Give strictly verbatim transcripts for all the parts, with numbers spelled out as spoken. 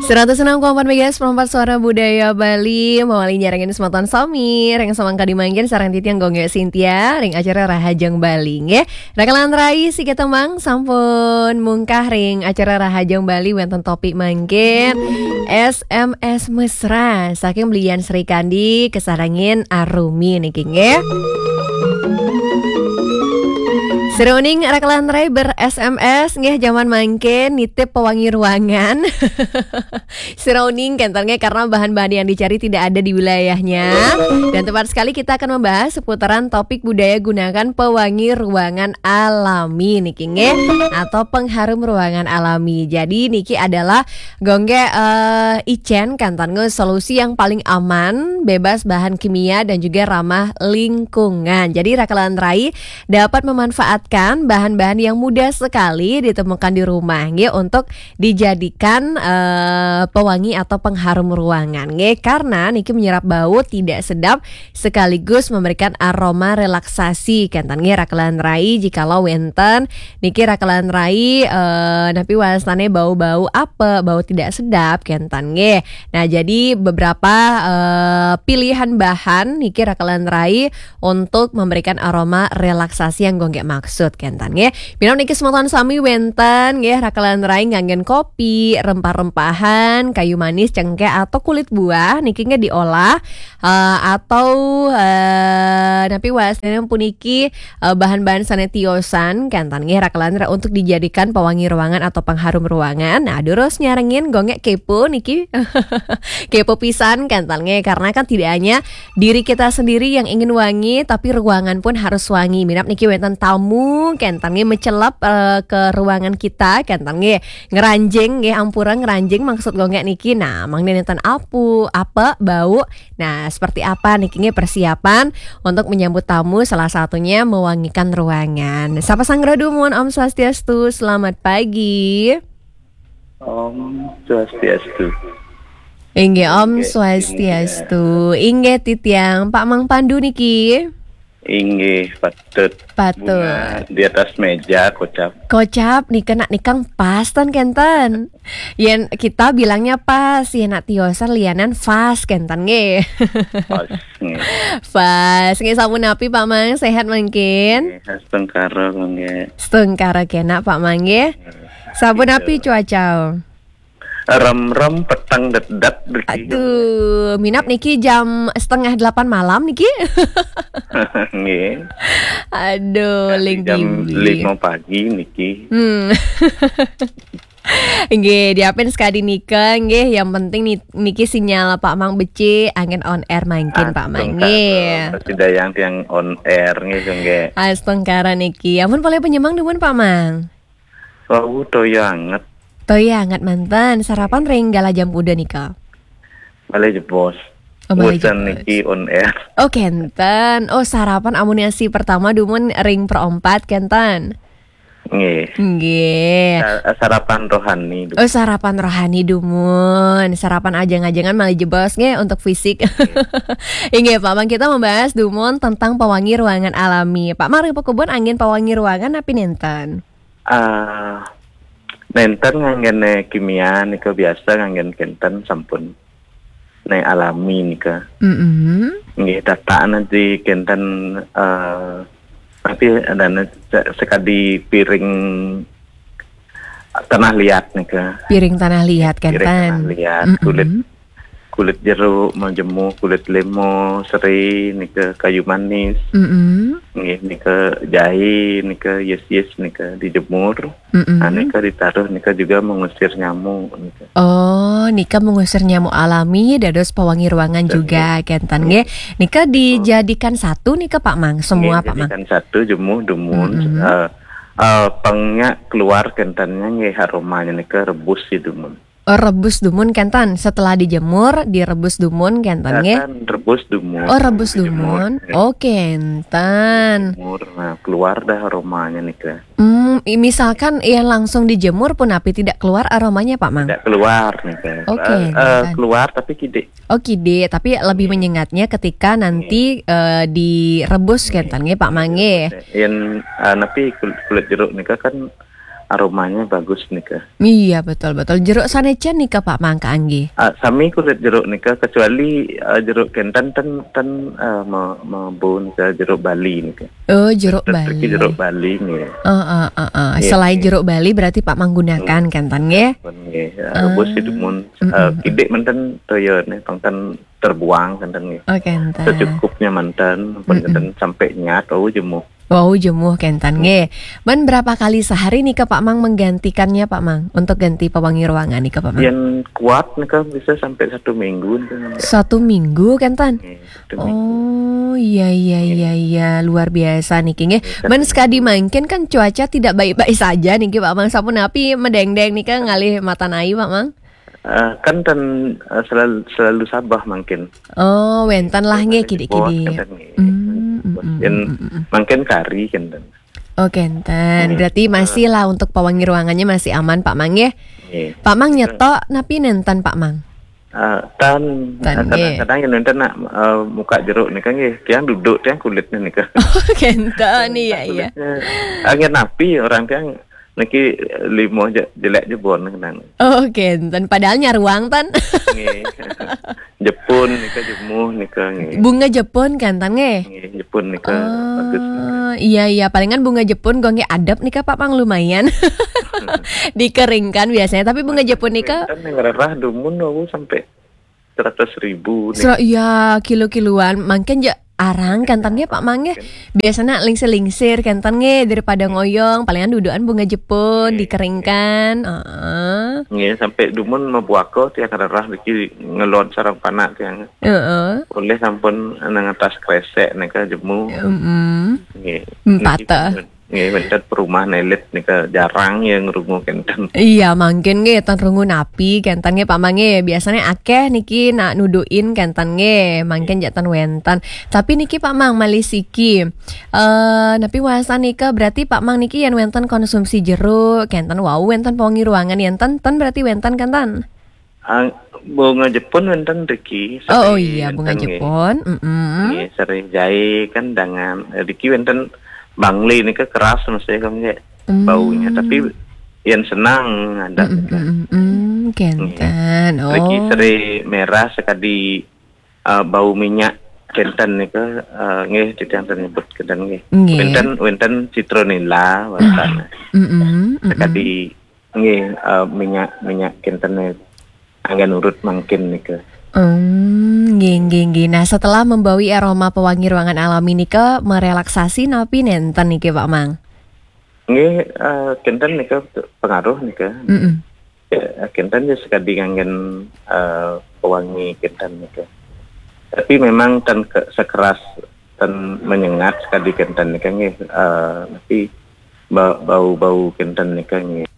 Seratus enam koma empat megahertz, perempat suara budaya Bali, mawali nyarengin semeton sami ring samangkadi mangkin sareng titiang Gung Gek Sintia ring acara Rahajeng Bali, nggih. Raka lan rai, siki tembang sampun mungkah ring acara Rahajeng Bali wenten topik mangkin, S M S mesra saking Beli Yan Srikandi kasarengin Arumi niki, nggih. Sira uning raka lan rai ber-S M S, nggih, jaman mangkin nitip pewangi ruangan. Sira uning kenten, nggih, karena bahan-bahan yang dicari tidak ada di wilayahnya. Dan tepat sekali kita akan membahas seputaran topik budaya gunakan pewangi ruangan alami niki, nggih, atau pengharum ruangan alami. Jadi niki adalah Gung Gek, eh, icen kenten, nggih, solusi yang paling aman, bebas bahan kimia dan juga ramah lingkungan. Jadi raka lan rai dapat memanfaatkan bahan-bahan yang mudah sekali ditemukan di rumah, nggih, untuk dijadikan, eh, pewangi atau pengharum ruangan, nggih, karena niki menyerap bau tidak sedap sekaligus memberikan aroma relaksasi kenten, nggih, raka lan rai, jikalau wenten niki raka lan rai, eh, napi wastane bau-bau apa, bau tidak sedap kenten, nggih. Nah, jadi beberapa, eh, pilihan bahan niki raka lan rai untuk memberikan aroma relaksasi yang Gung Gek maksud kenten, nggih. Minab niki semeton sami wenten, nggih, raka lan rai nganggen kopi, rempah-rempahan, kayu manis, cengkeh atau kulit buah niki, nggih, diolah, eh, atau, eh, napi wastane puniki, eh, bahan-bahan sane tiosan kenten, nggih, raka lan rai, untuk dijadikan pewangi ruangan atau pengharum ruangan. Nah, durus nyarengin Gung Gek kepo niki. Kepo pisan kenten, nggih, karena kan tidak hanya diri kita sendiri yang ingin wangi, tapi ruangan pun harus wangi. Minab niki wenten tamu kenten, nggih, mecelep, eh, ke ruangan kita kenten, nggih, ngranjing, nggih, ampura, ngranjing maksud Gung Gek niki. Nah, mangda nenten apu, apa, bau. Nah, seperti apa niki, nggih, persiapan untuk menyambut tamu, salah satunya mewangikan ruangan. Sapa sanggra dumun, Om Swastiastu, selamat pagi. Om Swastiastu. Inggih, Om Inggih, Swastiastu. Inggih, titiang Pak Mang Pandu niki. Inggih, patut. Patut. Bunga di atas meja, kocap. Kocap, nika nak nikang pas ten kenten. Yen kita bilangnya pas, yen nak tiosan lianan fas kenten, nggih. Pas, nggih. Pas, nggih, sampun napi, Pak Mang? Sehat mangkin? Nggih, astungkara, nggih. Astungkara kenak, Pak Mang, nggih. Sampun napi cuaca? Rem-rem, peteng, det-det, niki. Aduh, minab niki jam setengah delapan malam niki. Nggih. Aduh, ling jam lima pagi niki. Hmm. Nggih, diapin sekadi nika, nggih, yang penting ni-, niki sinyal Pak Mang becik, angin on air mangkin, Pak Mang, nggih. Astungkara, tidak yang tiang on air, nggih, nggih. Astungkara niki. Ampun polih penyemang dumun, Pak Mang? Wau, toya anget. Toya anget manten. Sarapan ring galah jam puda nika? Malih jebos. Oh, malih jebos. Boten niki on air. Oh, kenten. Oh, sarapan amunisi pertama dumun ring perempat kenten. Nggih. Nggih. Sa-, sarapan rohani dumun. Oh, sarapan rohani dumun. Sarapan ajeng-ajengan malih jebos nggih untuk fisik. Nggih. Inggih, Pak Mang, kita membahas dumun tentang pewangi ruangan alami. Pak Mang, ring pakubun anggen pewangi ruangan napi nenten? Ah, nenten nganggene kimia nika, biasa nganggen kenten sampun. Nek alami nika. Mm-mm. Nggih, tataan nanti kenten, eh, tapi ada ne-, se-, sekadi piring tanah liat nika. Piring tanah liat, piring kenten. Tanah liat, mm-mm, kulit kulit jeruk, majemu, kulit lemo, seri, nika kayu manis. Mm-mm. Nggih, nika jahe, nika yes-yes, nika dijemur. Mm-mm. Nah, nika ditaruh, nika juga mengusir nyamuk, nika. Oh, nika mengusir nyamuk alami, dados pewangi ruangan juga, kenten, nggih. Nggih. Nika dijadikan satu, nika, Pak Mang, semua, nggih, Pak Mang? Dijadikan satu, jemu, dumun, mm-mm, eh, eh, pengnya keluar kentennya, nggih, aromanya nika rebus, ya, dumun. Oh, rebus dumun kenten. Setelah dijemur, direbus dumun kenten, nggih? Kenten, rebus dumun. Oh, rebus dumun. Dijemur, nggih. Oh, kenten. Dijemur, nah, keluar dah aromanya nika. Hmm, i-, misalkan yang langsung dijemur pun napi tidak keluar aromanya, Pak Mang? Tidak keluar nika. Oh, eh, eh, kenten. Keluar tapi kidik. Oh, kidik, tapi lebih, nggih, menyengatnya ketika nanti, nggih, eh, direbus, nggih, kenten, nggih, Pak Mang, nggih. Yen, eh, napi kul-, kulit jeruk nika kan aromanya bagus nika. Iya, betul, betul. Jeruk sanecen nika, Pak Mang, kaanggé? Ah, sami kulit jeruk nika, kecuali ah, jeruk kénten ten ten ah, me- mebun nika, jeruk Bali nika. Oh, jeruk Tetep iki Bali. Jeruk Bali nih. Heeh, heeh. Iya, Selain iya. Jeruk Bali, berarti Pak Mang gunakan kénten nggih? Pun nggih, ah, rebus itu mun Mm-mm. ah, kidik manten toya nih, pangkan terbuang kénten nggih. Oh, kénten. Secukupnya manten, pun Mm-mm. kénten sampai nyat, oh jemuh. Wow, jemuh kénten nggih. Man berapa kali sehari nih ke Pak Mang menggantikannya, Pak Mang, untuk ganti pewangi ruangan nih ke Pak Mang? Yang kuat nih kan bisa sampai satu minggu nih kan. Satu minggu kénten? Nggih, satu minggu. Oh, iya, iya, iya, iya, luar biasa nih nggih. Man sekadi mangkin kan cuaca tidak baik-baik saja nih Pak Mang, sapunapi medeng-deng nih kan ngalih matan ai, Pak Mang? Eh, kan ten eh, selalu, selalu sabah mangkin. Oh, wénten lah nggih Bos kidik-kidik. kan ten nggih. Hmm, hmm, hmm, Yang hmm, hmm. mangkin kari kan ten. Oh, kénten. Berarti masih lah untuk pewangi ruangannya masih aman, Pak Mang nggih. Nggih. Pak Mang nyetok napi nénten, Pak Mang? Ah, tan Tan, ah, nggih. Kadang-kadang yang nonton nak eh, muka jeruk nih kan nggih, tiang duduk tiang kulitnya nih kan. Oh, kénten, iya, iya. Kulitnya. Angin api orang tiang niki limo je jelek jebon kenang. Oh, kénten. Padahal nyaruang tan. Nggih. Jepun nika, jemuh nika nggih. Bunga Jepun kan tan nggih? Nggih, Jepun nika bagus. Oh, iya, iya, palingan bunga Jepun gonggé adep nika Pak Mang, lumayan. Dikeringkan biasanya, tapi bunga Jepun nika Kan yang rerah dumun aku sampai seratus ribu nih. Sera- iya, kilo-kiloan. Mangkin ja arang kan tan nggih, Pak Mang nggih. Biasanya lingsir-lingsir kan tan nggih, daripada ngoyong, palingan dudukan bunga Jepun dikeringkan. Heeh. Nggih, sampai dumun mabuaka tiang rerah niki ngelon sarang panak tiang. Heeh. Oleh sampun nang atas kresek nika jemuh. Mm-mm. Nggih. Empata. Niki, nggih, wénten perumahan elit nika jarang yang rungu kénten. Iya, mangkin nggih tan rungu napi kénten nggih Pak Mang nggih. Biasanya akeh niki nak nudukin kénten nggih, mangkin ja tan wénten. Tapi niki Pak Mang malih siki. Eh, napi wasan nika berarti Pak Mang niki yén wénten konsumsi jeruk, kénten wau wénten pewangi ruangan yén ten, ten berarti wénten kan tan? Ah, bunga Jepun wénten riki. Oh, oh Seri iya, bunga wénten nggih. Jepun. Mm-mm. Nggih, seri jahe kan dengan eh, riki wénten bangli nika keras mesti kan nggih Hmm. baunya, tapi yang senang ada. Mm-mm, mm-mm, mm, kénten. Riki Oh. Seri merah sekadi eh, bau minyak kénten nika eh, nggih titiang nyebut kénten nggih. Nggih. Wénten wénten citronella wénten. Mm-mm, mm-mm. Sekadi nggih eh, minyak minyak kénten anggén urut mangkin nika. Hmm, nggih, nggih, nggih. Nah, setelah membawi aroma pewangi ruangan alami nika merelaksasi napi nénten niki Pak Mang? Nggih, eh, kénten nika pengaruh nika. Mm-mm. Ya, kénten ya sekadi nganggén eh, pewangi kénten nika. Tapi memang ten ke, sekeras ten menyengat sekadi kénten nika nggih. Eh, tapi ba- bau-bau kénten nika nggih.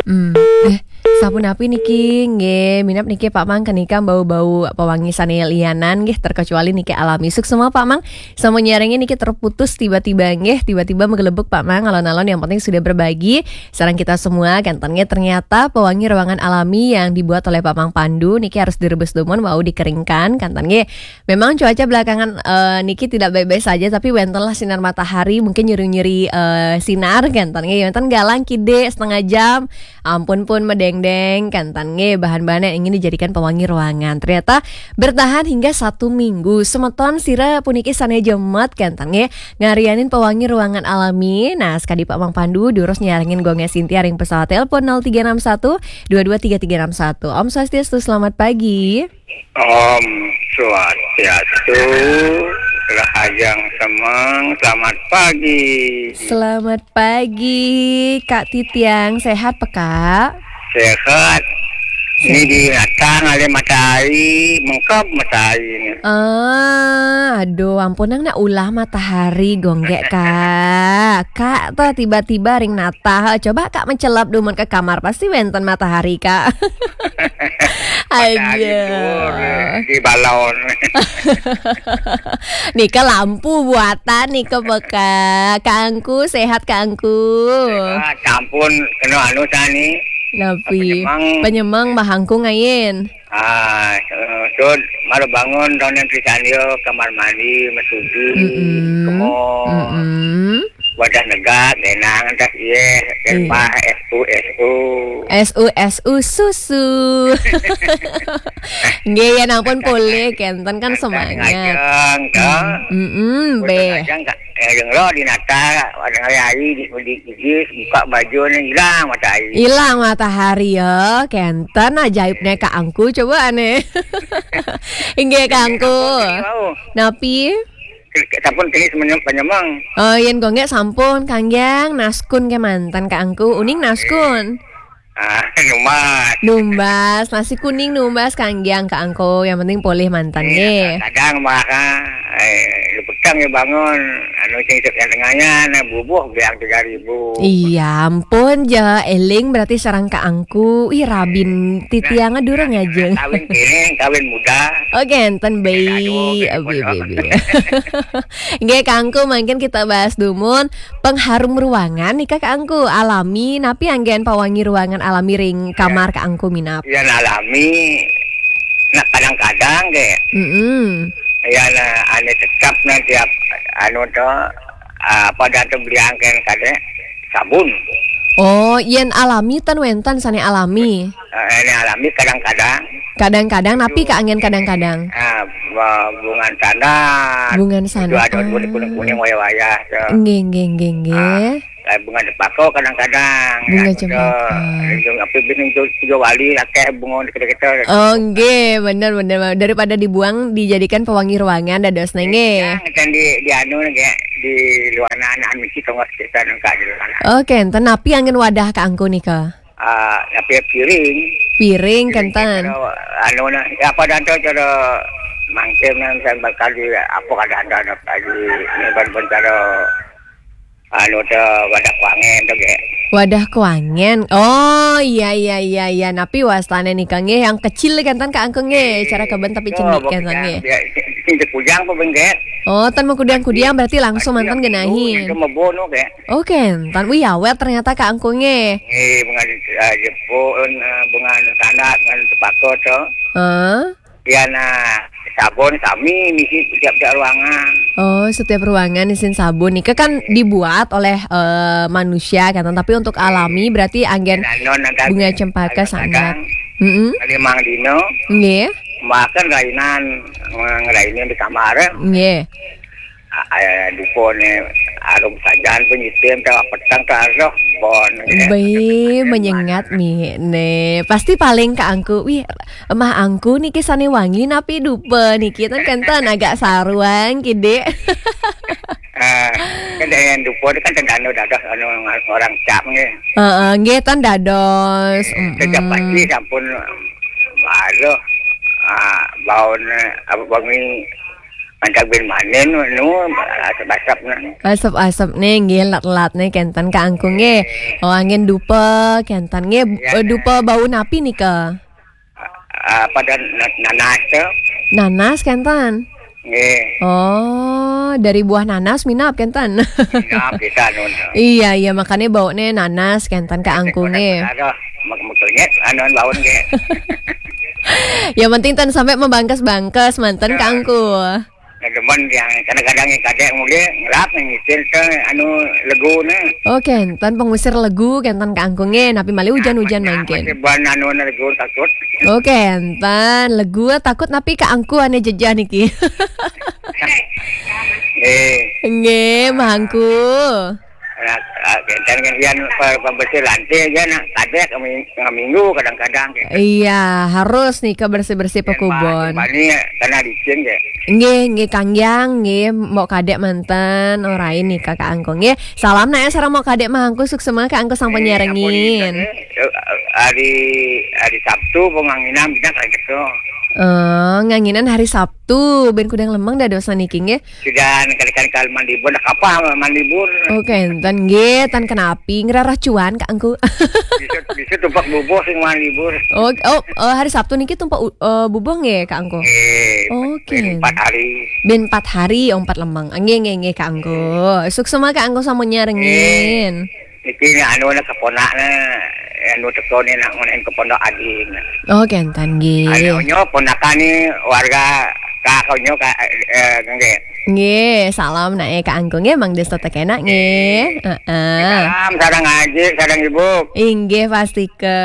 Hmm. Eh, sapunapi niki nggih, minab niki Pak Mang kenika bau-bau pewangi sané lianan nggih, terkecuali niki alami. Suksma Pak Mang, sampun nyarengin niki terputus tiba-tiba nggih, tiba-tiba menggelebuk Pak Mang, alon-alon yang penting sudah berbagi sareng kita semua, kénten nggih, ternyata pewangi ruangan alami yang dibuat oleh Pak Mang Pandu niki harus direbus dumun wau dikeringkan, kénten nggih. Memang cuaca belakangan eh, niki tidak baik-baik saja, tapi wénten lah sinar matahari, mungkin nyeri-nyeri eh, sinar kénten nggih. Wénten galang kidik setengah jam, ampun pun medeng-deng kénten nggih, bahan-bahan yang ingin dijadikan pewangi ruangan. Ternyata bertahan hingga satu minggu. Semeton sira puniki sané jemet kénten nggih, ngarianin pewangi ruangan alami. Nah, sekadi Pak Mang Pandu durus nyarengin gonggé Sinti ring pesawat telepon nol tiga enam satu dua dua tiga tiga enam satu. Om Swastiastu, selamat pagi. Om Swastiastu, Rahajeng Semeng, selamat pagi. Selamat pagi, Kak Titiang. Sehat, Kak? Sehat. Ini di Natah ngalih matahari, mengkep matahari ini. Ah, aduh, ampun, nang nak ulah matahari gonggé, Kak. Kak, tuh tiba-tiba ring Natah. Coba Kak mencelap dumun ke kamar, pasti wénten matahari, Kak. Matahari Aja. Luhur, di balon. Nika lampu buatan nika beka. Kak Angku, sehat Kak Angku? Ah, ampun, kena anu tani. Napi? Penyemang. Penyemang mahangku ngain. Ah, eh, sud, malu bangun, donen pisan dia, kamar mandi, mesuju, Mm-mm. kemo. Mm-mm. Wadah negak, genang, tas iye, Iya. Kempah, S U, S U. S U S U susu. Nggih, ya ampun polih kenten kan semangat. Ngajeng, toh. Mm-mm, Boten beh. Ngajeng, ka, ngajeng roh di Natal, pada hari di, di, di, buka baju ni hilang matahari. Hilang matahari ya, kenten ajaibnya Kak Angku coba aneh. Inggih Kak Angku. Wow. Napi? Sampun tenis menyem-, penyemeng. Oh, yen gonggek sampun kanggeng naskun ke mantan Kak Angku. Uning naskun. Ah, numbas. Numbas, nasi kuning numbas kanggeng Kak Angku. Yang penting polih mantan Iya, nggih. Kadang mah kan, eh, lu petang ya bangun, anu sing yang tengahnya, nah bubuh biang tiga ribu. Iya, ampun ja eling berarti sareng Kak Angku. Ih, rabin titiang durung ngajeng. Kawin kene, kawin muda. Oke, enten Aduh, bayi, aduh, abi aduh. baby. Nggih, Kak Angku, mungkin kita bahas dumun pengharum ruangan nih Kak Angku, alami napi anggen pewangi ruangan alami ring kamar Kak Angku minap. Yang alami, nah kadang-kadang kayak, Mm-mm. Ya nah, ane tetap nah tiap anu to, apa dah tu beli angken kade sabun. Oh, yen alami ten wenten sane alami. Eh, ini alami kadang-kadang. Kadang-kadang napi Kak anggen kadang-kadang. Ah, ba- bungan sandat. Bungan Itu ada sandat. kuning-kuning wayah-wayah tu. Nggih, nggih, nggih, nggih. Eh, bunga cempaka kadang-kadang. Bunga Anu tu, cempaka. Apa bini tu tiga wali akeh bunga kita-kita. Oh, nggih, bener, bener. Daripada dibuang, dijadikan pewangi ruangan, dados nggih. Yang kan di di anu kayak di luar anak misi tengah kita nengkak di luar. Oke, enten napi anggen wadah Kak Angku nika? Ah, tapi piring. Piring kenten. Cara, anu nah, ya apa dah tu cara mangkin nah, misalnya bakal di apa kadang ada ada lagi ni ban cara anu tu wadah kuangen tu kayak. Wadah kuangen. Oh, iya, iya, iya, iya. Napi wastane nika nggih yang kecil kenten Kak Angku nggih. Cara keben tapi cenik kenten nggih. Sing kujang apa bengket? Oh, tan mengkudiang-kudiang berarti langsung mantan genahin. Itu mebono kayak. Oke, tan wih awet ternyata Kak Angku nggih. Eh, bunga ah, jepun, ah, bunga sandat, bunga cempaka tu. Hah? Ya nah, sabun sami misi tiap-tiap ruangan. Oh, setiap ruangan isin sabun. Nika kan dibuat oleh eh, manusia kan, tapi untuk alami berarti anggen Nah, non ada bunga cempaka sangat. kadang Mm-mm. Limang dino, Nggih. makan rainan, ngerainin di kamar. Nggih. Ah, eh, dukone arum sajan penyitim teh petang teh aroh bon. Be menyengat mi ne. Pasti paling Kak Angku. Wih, Mah Angku niki sane wangi napi dupa niki ten kenten agak saruang kidik. Ah, kan yang dupa kan tendano dadah anu orang cap nggih. Heeh, nggih ten dados. Mm-mm. Sejak pagi sampun malu ah baune apa wangi antak bin manen nu asap-asap nah. Asap-asap nih nggih lat-lat nih kenten Kak Angku nggih. Oh angin dupa kenten nggih. Ya. Eh, dupa bau napi nika? Apa dan na- nanas tu. Nanas kenten. Nggih. Oh, dari buah nanas minap kenten. Nah, kita nun. Iya, iya, makanya baunya nanas kenten Kak Angku nggih. Ada mak makanya anu baun nggih. Yang penting ten sampai membangkes-bangkes manten Kak Angku. Nah, cuman yang kadang-kadang yang kadek mungkin ngelap yang ngitin ke anu legu nah. Oh, kenten pengusir legu kenten Kak Angku nggih, napi malih hujan-hujan mangkin. Masih ban anu nah legu takut. Oh, kenten legu takut napi Kak Angku ane jejah niki. Eh, Nggih, Mah Angku. Nah, ah, kan kan yang pa- pembersih lantai aja nak kadek ming- minggu kadang-kadang. Iya, harus nih ke bersih-bersih pekubon. Bani karena licin ya. Nggih, nggih Kang Yang, nggih mau kadek manten, orain nih Kak Angku nggih. Salam nak ya sareng mau kadek Mah Angku suksema Kak Angku sampun nyarengin. Hari hari Sabtu penganginan bidang kayak gitu. Eh, nganginan hari Sabtu, ben kudang lemeng dadosan niki nggih. Sudah kali-kali kalau mandi pun apa mandi pun. Oke, enten nggih, tan kenapi ngerarah cuan Kak Angku. Bisa bisa tumpak bubuh sing mandi pun. Oh, oh, eh, hari Sabtu niki tumpak u- eh, bubuh nggih Kak Angku. Eh, Oke. Empat hari. Ben empat hari, oh, empat lemeng. Nggih, nggih, nggih Kak Angku. Suksema Kak Angku sampun nyarengin. Niki anu nak keponak na anu teko ni nak ngonen ke pondok ading. Oh, kenten nggih. Anu nyo ponakan ni warga kak nyo kak eh nggih. Nggih, salam nae Kak Angku nggih, mangda tetep kenak nggih. Heeh. Salam, sareng Aji, sareng Ibu. Inggih, pastike.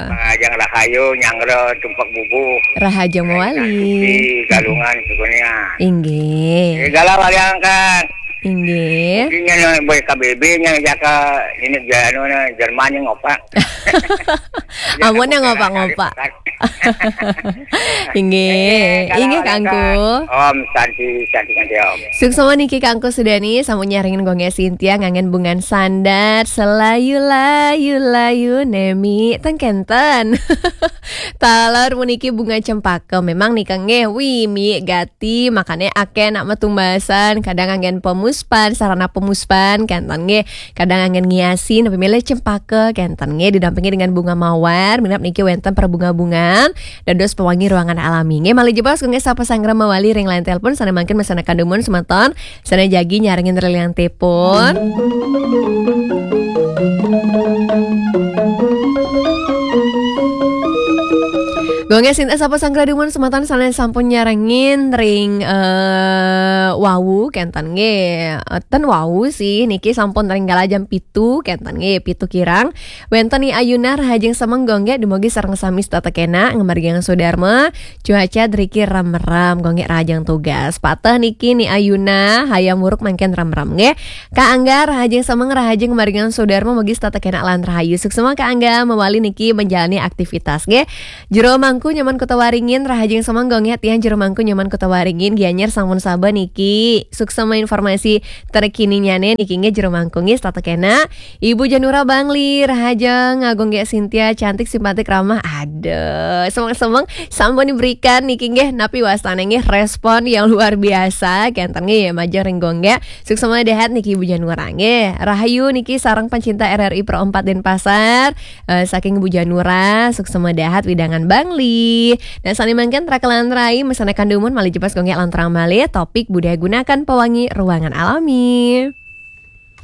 Pangajeng rahayu, nyanggra, tumpak bubuh. Rahajeng mawali. Suci, galungan, sukunya. Inggih. Segala wali angkat. Inggih. Mungkin yang boy K B B, yang jaka ini, anu, Jerman yang ngopak. Amun yang ngopak-ngopak. Inggih, inggih Kak Angku. Om Santi, Santi, Santi Om. Suksma niki Kak Angku Sudani, sampun nyarengin Gung Gek Sintia nganggen Bungan Sandat, selayu layu layu nemi tengkenten. Taler puniki bunga cempaka. Memang nika nggih, wi, mi gati, makane akeh nak metumbasan, kadang nganggen pemuspan, sarana pemuspan, kenten nggih. Kadang anggen ngiasi, napi milih cempaka, kenten nggih, didampingi dengan bunga mawar, minab niki wenten perbunga-bungan, dados pewangi ruangan alami. Nggih, malih jebos nggih sapa sanggra mawali ring line telepon, sane mangkin mesana kandumun semeton, sane jagi nyarengin ring line telepon. Gung Gek Sintia sapa sanggra dumun semeton sane sampun nyarengin ring eh, wau kenten nggih. Eh, ten wau sih niki sampun ring kala jam pitu kenten nggih, pitu kirang. Wenten Ni Ayuna rahajeng semeng Gung Gek dumugi sareng sami setata kenak ngamargiang Swadarma. Cuaca driki rem-rem Gung Gek rahajeng tugas. Pateh niki Ni Ayuna hayam wuruk mangkin rem-rem nggih. Kak Angga rahajeng semeng rahajeng ngamargiang Swadarma mugi setata kenak lan rahayu. Suksma Kak Angga mawali niki menjalani aktivitas nggih. Jero Mangku Nyoman Kota Waringin, rahajeng semeng Gung Gek tiang Jero Mangku Nyoman Kota Waringin, Gianyar sampun saba niki. Suksma informasi terkininyane niki nggih Jero Mangku nggih setata kenak. Ibu Janura Bangli, rahajeng Gung Gek Sintia, cantik, simpatik, ramah. Aduh, semeng-semeng sampun diberikan niki nggih napi wastane nggih respon yang luar biasa. Kenten nggih majeng ring Gung Gek. Suksma dahat niki Ibu Janura nggih. Rahayu niki sareng pencinta R R I Pro empat Denpasar. Eh, saking Ibu Janura, suksma dahat widangan Bangli. Nah, sane mangkin trakelan rai mesana kandumun malih jebos Gung Gek lan terang malih topik budaya gunakan pewangi ruangan alami.